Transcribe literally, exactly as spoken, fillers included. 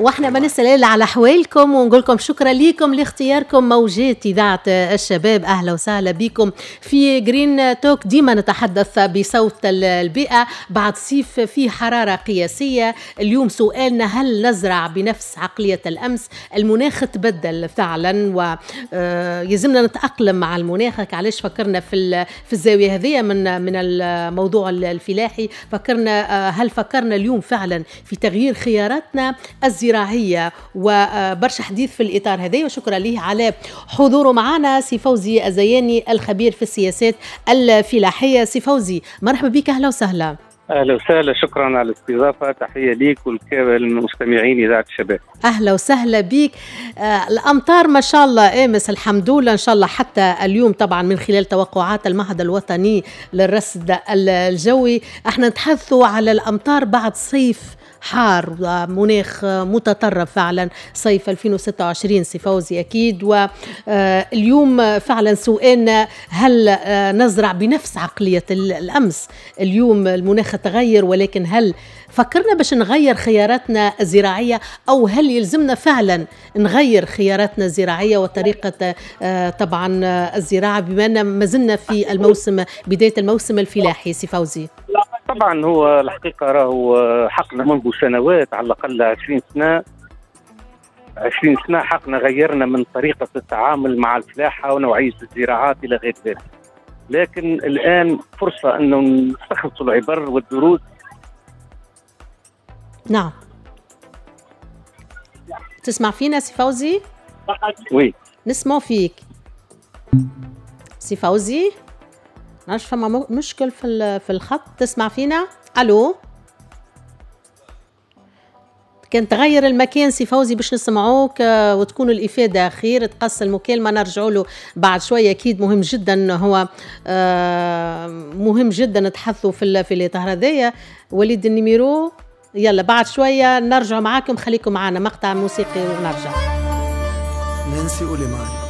واحنا ما نسال الا على احوالكم ونقول لكم شكرا لكم لاختياركم موجات اذاعة الشباب. اهلا وسهلا بكم في Green Talk. ديما نتحدث بصوت البيئة بعد صيف فيه حرارة قياسية. اليوم سؤالنا: هل نزرع بنفس عقلية الامس؟ المناخ تبدل فعلا ويلزمنا نتاقلم مع المناخ. علاش فكرنا في في الزاوية هذه من من الموضوع الفلاحي؟ فكرنا، هل فكرنا اليوم فعلا في تغيير خياراتنا الزراعية؟ وبرشا حديث في الاطار هذا، وشكرا ليه على حضوره معنا سي فوزي الزياني الخبير في السياسات الفلاحية. سي فوزي مرحبا بك، اهلا وسهلا. اهلا وسهلا، شكرا على الاستضافه، تحية ليك وللمستمعين اذاعة الشباب. اهلا وسهلا بك. آه الامطار ما شاء الله امس الحمد لله، ان شاء الله حتى اليوم طبعا من خلال توقعات المعهد الوطني للرصد الجوي. احنا نتحدثوا على الامطار بعد صيف حار ومناخ متطرف فعلا، صيف ألفين وستة وعشرين سي فوزي اكيد. واليوم فعلا سؤالنا: هل نزرع بنفس عقلية الأمس؟ اليوم المناخ تغير، ولكن هل فكرنا باش نغير خياراتنا الزراعية، أو هل يلزمنا فعلا نغير خياراتنا الزراعية وطريقة طبعا الزراعة بما أن ما زلنا في الموسم، بداية الموسم الفلاحي سي فوزي؟ طبعا هو الحقيقة راهو حقنا منذ سنوات، على الأقل عشرين سنة، عشرين سنة حقنا غيرنا من طريقة التعامل مع الفلاحة ونوعية الزراعات إلى غير ذلك. لكن الآن فرصة أنه نستخلص العبر والدروس. نعم، تسمع فينا سي فوزي؟ oui نسمع فيك سي فوزي. نعرفش فما مشكل في في الخط. تسمع فينا؟ الو، كان تغير المكان سي فوزي باش نسمعوك وتكون الإفادة خير. تقص المكالمة، نرجعوا له بعد شوية. أكيد مهم جدا، هو مهم جدا نتحدثوا في في الإطار هذايا. وليد ال numéro، يلا بعد شوية نرجع معاكم، خليكم معنا مقطع موسيقي ونرجع. نانسي أوليمان.